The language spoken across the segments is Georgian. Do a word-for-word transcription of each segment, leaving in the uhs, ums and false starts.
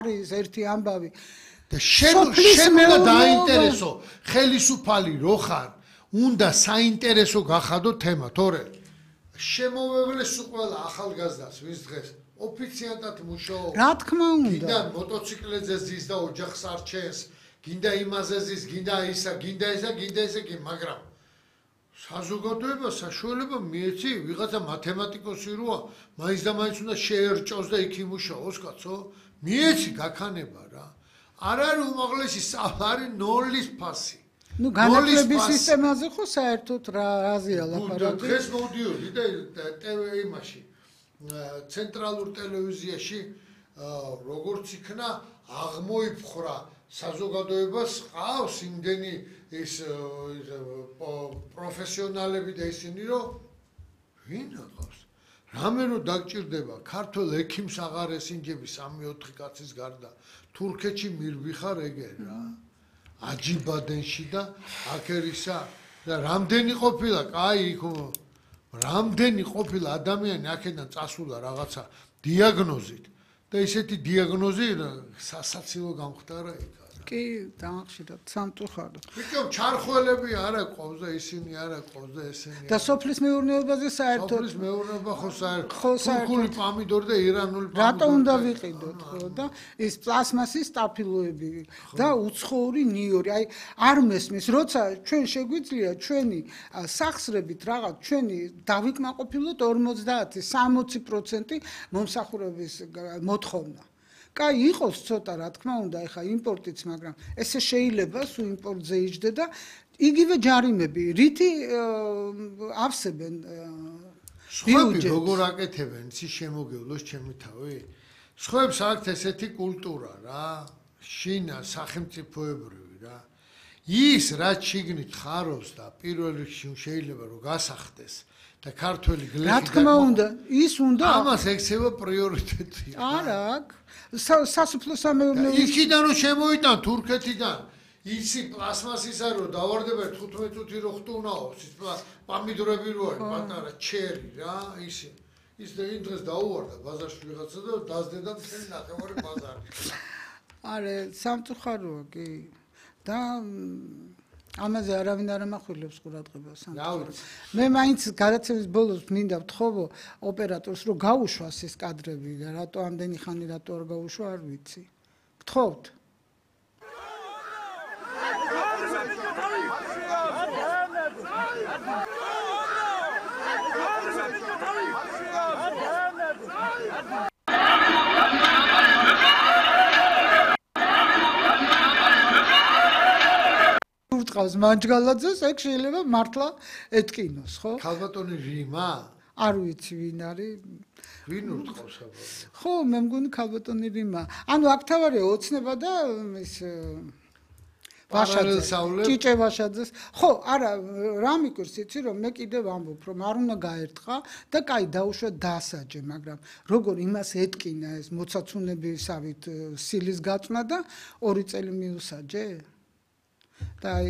არის ერთი ამბავი და შენ შენ უნდა დაინტერესო ხელისუფალი რო ხარ უნდა საინტერესო გახადო თემა თორე შემოვევლეს ყველა ახალგაზრდას ვის დღეს ოფიციანტად მუშაობს რა თქმა უნდა გინდა მოტოციკლებზე ზის და ოჯახს არჩენს გინდა იმაზე ზის გინდა ისა გინდა ისა გინდა ისა კი მაგრამ საზოგადოება საშუალება მიეცი ვიღაცა მათემატიკოსი როა მაინც და მაინც უნდა შეერჭოს და იქ იმუშაოს კაცო მიეცი გაქანება რა არ არის უმაღლესი არის ნოლის ფასი ნუ განათლების სისტემაზე ხო საერთოდ რა აზია ლაპარაკი დღეს მოვდიოდი და ტევ იმაში ცენტრალურ ტელევიზიაში როგორც იქნა აღმოიფხრა საზოგადოებას ყავს იმდენი ეს პროფესიონალები და ისინი რომ ვინ აკავს რამე რომ დაგჭირდება ქართულ ექიმს აღარ ესინჯები სამი ოთხი კაცის გარდა თურქეთში მირბიხარ ეგე რა აჯიბადენში და აკერისა და რამდენი ყოფილა კაი იქ რამდენი ყოფილა ადამიანი აქედან წასულა რაღაცა დიაგნოზით და ისეთი დიაგნოზი სასაცილო გამختარა იქ კი დაახშიროთ სამწუხაროდ ვიქო ჩარხველები არა ყავს და ისინი არა ყავს და ესენი და სოფლის მეურნეობაზე საერთოდ სოფლის მეურნეობა ხო საერთოდ თურქული პამიდორი და ირანული პამიდორი რატო უნდა ვიყიდოთ ხო და ის პლასმასის სტაფილოები და უცხოური ნიორი აი არ მესმის როცა ჩვენ შეგვიძლია ჩვენი სახსრებით რაღაც ჩვენი დავიკმაყოფილოთ ორმოცდაათი სამოცი პროცენტი მომსახურების მოთხოვნა კაი იყოს ცოტა რა თქმა უნდა ეხა იმპორტიც მაგრამ ესე შეიძლება სულ იმპორტზე იჯდე და იგივე ჯარიმები რითი ავსებენ სხვები როგორ აკეთებენ ისი შემოგევლოს ჩემი თავი სხვებს აქვთ ესეთი კულტურა რა შინა სახელმწიფოებრივი რა ის რაც შიგნით ხარობს და პირველ რიგში შეიძლება რომ გასახდეს და ქართველი გლეხი რა თქმა უნდა ის უნდა ამას ექცევა პრიორიტეტი არა სასოფლო სამეურნეო იქიდან რომ შემოიტან თურქეთიდან ისი პლასმასისა რომ დავარდება თხუთმეტ წუთი რო ხტუნაობს ის პამიდორები რო არის პატარა ჩერი რა ისი ის და იმ დღეს დაუვარდა ბაზარში ვიღაცა და დაზდედა მთელი ნახევარი ბაზარი არა სამწუხაროა კი და ამაზე არავინ არ ამახვილებს ყურადღებას სამწუხაროდ მე მაინც გადაცემის ბოლოს მინდა ვთხოვო ოპერატორს რომ გაუშვას ეს კადრები და რატო ამდენი ხანი რატო არ გაუშვა არ ვიცი ვთხოვთ ურტყავს მანჯგალაძეს ეგ შეიძლება მართლა ეთკინოს ხო ქალბატონი ჟიმა არ ვიცი ვინ არის ვინ ურტყავს აბა ხო მე მგონი ქალბატონი ჟიმა ანუ აქ თავარია ოცნება და ის ვაშაძე ჭიჭე ვაშაძეს ხო არა რა მიკურს იცი რომ მე კიდევ ამბობ რომ არ უნდა გაერტყა და კაი დაუშვა დასაჯე მაგრამ როგორ იმას ეთკინა ეს მოცაცუნებისავით სილის გაწმა და ორი წელი მიუსაჯე და აი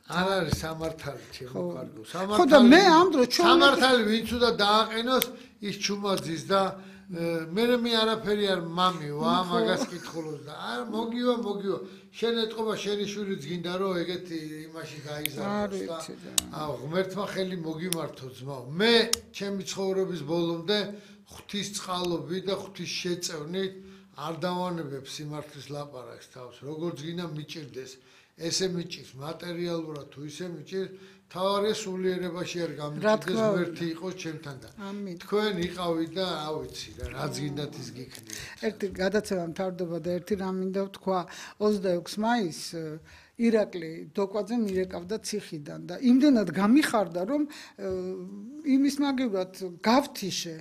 არ არის სამართალი ჩემო კარგო სამართალი ხო და მე ამ დროს ჩვენ სამართალი ვინც უნდა დააყენოს ის ჩუმაძის და მე მე არაფერი არ მამივა მაგას კითხულობს და არ მოგივა მოგივა შენ ეთყობა შენი შვილი გინდა რომ ეგეთი იმაში გაიზარდოს და აუ ღმერთმა ხელი მოგიმართო ძმაო მე ჩემი ცხოვრების ბოლომდე ღვთისწყალობით და ღვთის შეწევნით არ დავანებებ სიმართლის ლაპარაკს თავს როგორც გინდა მიჭირდეს ესე მიჭირს მატერიალურად თუ ისე მიჭირს თავარია სულიერებაში არ გამიჭირდეს ღმერთი იყოს ჩემთან და თქვენ იყავით და რა ვიცი რა რაც გინდათ ის გიქნია ერთი გადაცემა მთავრდება და ერთი რამ მინდა ვთქვა ოცდაექვსი მაისს ირაკლი დოკვაძე მირეკავდა ციხიდან და იმდენად გამიხარდა რომ იმის მაგივრად გავთიშე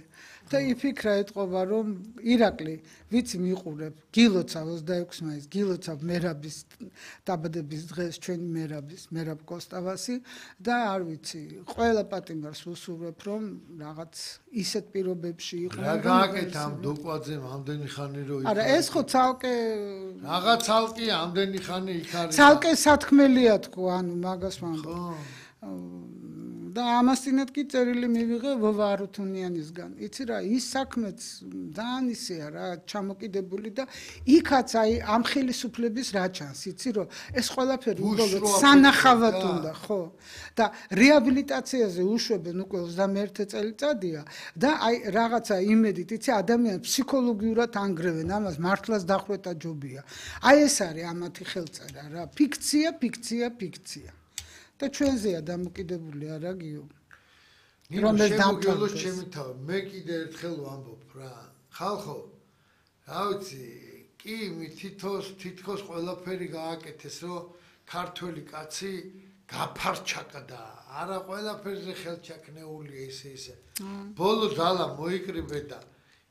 და იფიქრა ეთყობა რომ ირაკლი ვიცი მიყურებ გილოცავ ოცდაექვსი მაისს გილოცავ მერაბის დაბადების დღეს ჩვენი მერაბის მერაბ კოსტავასი და არ ვიცი ყველა პატიმარს უსურვებ რომ რაღაც ისეთ პირობებში იყო რა გააკეთა ამ დოკვაძემ ამდენი ხანი რო იქ არა ეს ხო ცალკე რაღაც ცალკეა ამდენი ხანი იქ არის ცალკე სათქმელია თქო ანუ მაგას ვამბობ და ამასთანავე კი წერილი მივიღე ვოვა არუთუნიანისგან. იცი რა, ის საქმეც ძალიან ისეა რა, ჩამოკიდებული და იქაც აი ამ ხელისუფლების რა ჩანს, იცი რომ ეს ყველაფერი უბრალოდ სანახავად უნდა, ხო? და რეაბილიტაციაზე უშვებენ უკვე ოცდამეერთე წელიწადია და აი რაღაცა იმედით, იცი, ადამიანს ფსიქოლოგიურად ანგრევენ, ამას მართლაც დახვეთა ჯობია. აი ეს არის ამათი ხელწერა რა, ფიქცია, ფიქცია, ფიქცია. და ჩვენზეა დამოკიდებული არა გიო. რომ ეს დამკვიდროს ჩემი თავი, მე კიდე ერთხელ ვამბობ რა. ხალხო, რა ვიცი, კი თითქოს თითქოს ყველაფერი გააკეთეს, რომ ქართველი კაცი გაფარჩაკდა. არა ყველაფერზე ხელჩაკნეულია ისე ისე. ბოლო ძალა მოიკრიბე და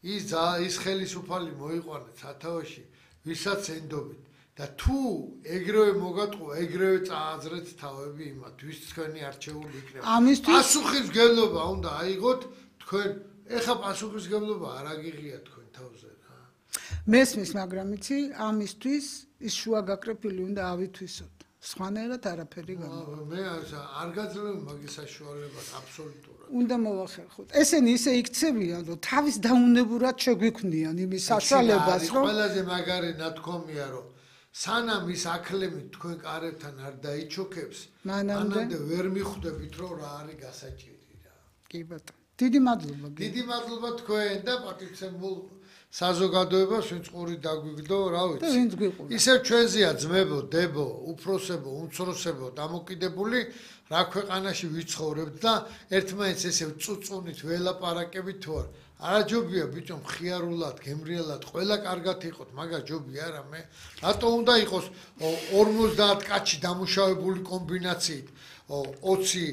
ის ის ხელისუფალი მოიყვანეთ სათავეში, ვისაც ენდობით. და თუ ეგრევე მოგატყუა, ეგრევე წააძრეთ თავები იმათ, ვის თქვენი არჩეული იქნება. პასუხისმგებლობა უნდა აიღოთ თქვენ. ეხა პასუხისმგებლობა არ აგიღია თქვენ თავზე რა. მესმის, მაგრამ იცი, ამისთვის ის შუაგაკრეფილი უნდა ავითვისოთ. სხვანაირად არაფერი გამოვა. მე არ გაძლევ მაგის საშუალებას აბსოლუტურად. უნდა მოვახერხოთ. ესენი ისე იქცევიან, რომ თავის დაუნებურად შეგვიქმნიან იმის საშუალებას, რომ ყველაზე მაგარი ნათქვამია, რომ სანამ ის აკლემით თქვენ კარებთან არ დაიჩოქებს, მანამდე ვერ მიხვდებით, რომ რა არის გასაჭირი რა. კი ბატონო. დიდი მადლობა. დიდი მადლობა თქვენ და პატივცემულ საზოგადოებას, ვინც ყური დაგვიგდო, რა ვიცი. და ვინც გვიყურა. ისევ ჩვენზეა ძმებო, დებო, უფროსებო, უმცროსებო დამოკიდებული, რა ქვეყანაში ვიცხოვრებთ და ერთმანეთს ესე წუწუნით ველაპარაკებით თუ არა. არაჯობია ბიჭო მხიარულად, გემრიელად, ყველა კარგად იყოთ, მაგას ჯობია რა მე. რატო უნდა იყოს ორმოცდაათ კაცი დამუშავებული კომბინაციით, ოცი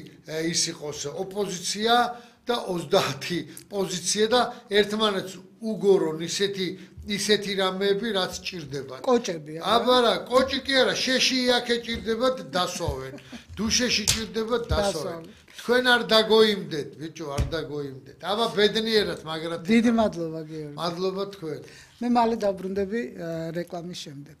ის იყოს ოპოზიცია და ოცდაათი პოზიცია და ერთმანეთს უგორონ ისეთი ისეთი რამეები, რაც ჭირდებათ. კოჭები არა. აბა რა, კოჭი კი არა, შეში იაკე ჭირდებათ, დასვავენ. დუშეში ჭირდებათ, დასვავენ. თქვენ არ დაგოიმდეთ, ბიჭო, არ დაგოიმდეთ. აბა ბედნიერად, მაგრამ დიდი მადლობა გიორგი. მადლობა თქვენ. მე მალე დაბრუნდები რეკლამის შემდეგ.